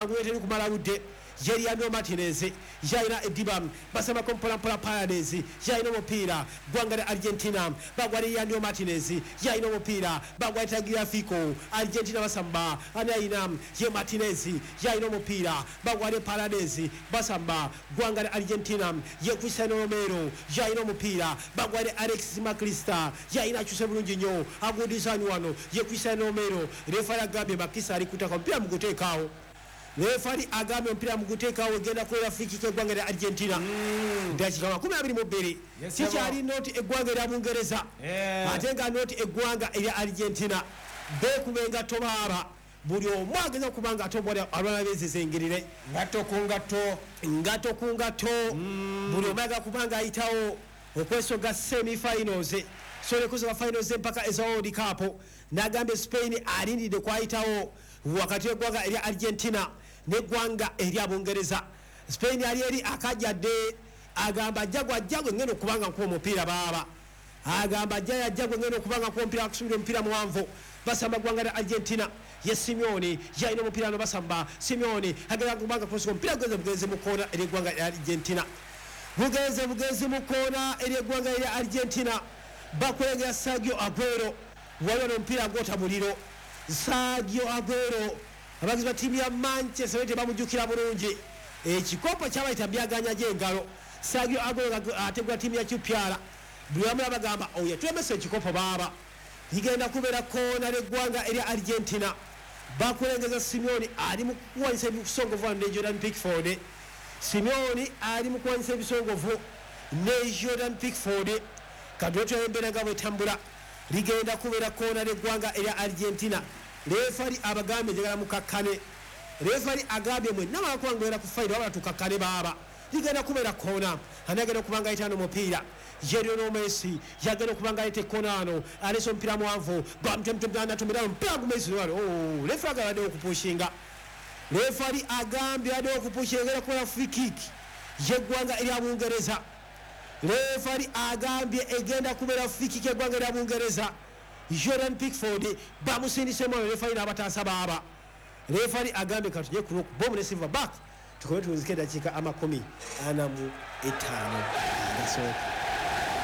Teri kumala budde. Jeriano Martinez yalina eddiba, basambako mpolampola. Paredes yalina omupiira, ggwanga lya Argentina bagwa. Liliano Martinez yalina omupiira, bagwa Tagliafico. Argentina basamba, ani ayina? Ye Martinez yalina omupiira, bagwa ne Paredes, basamba ggwanga lya Argentina. Ye Cristiano Romero yalina omupiira, bagwa ne Alexis Mac Allister, yalina, akyuse bulungi nnyo, agudisani wano ye Cristiano Romero. Refari agambye Makisa ali kutaka omupiira muguteekaawo. Refari agambye omupiira muguteekaawo, egenda kubeera free kick eggwanga lya Argentina. Dakiika 22. Yes, Kikyali nought eggwanga erya Bungereza ate nga nought eggwanga erya Argentina. Bekuba engatto baaba, buli omu ageza okuba nga ate omwali alwana bezezengirire. Ngatto ku ngatto. Ngatto ku ngatto, buli omu ayagala kuba nga ayitawo okwesoga semi finals, so nekusoga finals empaka eza World Cup. Nagambye Spain alindiridde kwayitawo wakati w'eggwanga erya Argentina n'eggwanga erya Bungereza. Spain ali eri akajjadde, agamba ajja gwajja gwe ngenda okuba nga nkuba omupiira baaba. Agamba ajja yajja gwe ngenda okuba nga nkuba omupiira, akusubira omupiira muwanvu. Basamba ggwanga lya Argentina, ye Simeone yalina omupiira no basamba. Simeone agenda kubanga kusoka omupiira, gugenze bugenzi mu koona ery'eggwanga lya Argentina, bugenze bugenzi mu koona ery'eggwanga erya Argentina. Bakulengera Sergio Aguero, waliwo n'omupiira gwota muliro. Sergio Aguero, abagizi ba ttiimu ya Manchester United bamujjukira bulungi, ekikopo kyabayita byaganya gy'engalo. Sergio Aguero ategula ttiimu ya QPR, buli wamu bagamba oyo tulemesa ekikopo baaba. Ligenda kubeera koona lyeggwanga erya Argentina, bakulengeza Simeone ali mu kuwanyisa ebisongovu wano ne Jordan Pickford. Simeone ali mu kuwanyisa ebisongovu ne Jordan Pickford. Katwetula embeera nga bwetambula. Ligenda kubeera koona lyeggwanga erya Argentina. Refari abagambye njagala mukakkane. Refari agambye mwenna mwakuba ngwera ku fayiro, wabula tukakkane baaba. Ligenda kubeera koona, ani agenda okuba nga ayitaano omupiira? Lionel Messi yagenda okuba nga ayita ekkona ano, aleese omupiira muwanvu, natomera omupiira gumesi wano. Oh, refari agambye okupushinga. Refari agambye adde okupushinga, egenda kubeera free kick yeggwanga erya Bungereza. Refari agambye egenda kubeera free kick yeggwanga erya Bungereza. Jordan Pickford bamusindisemu wano, refari n'abataasa baaba. Refari agambye katujye ku bomu ne silver back, tukome tuwunzike eddakiika 45 agasooka.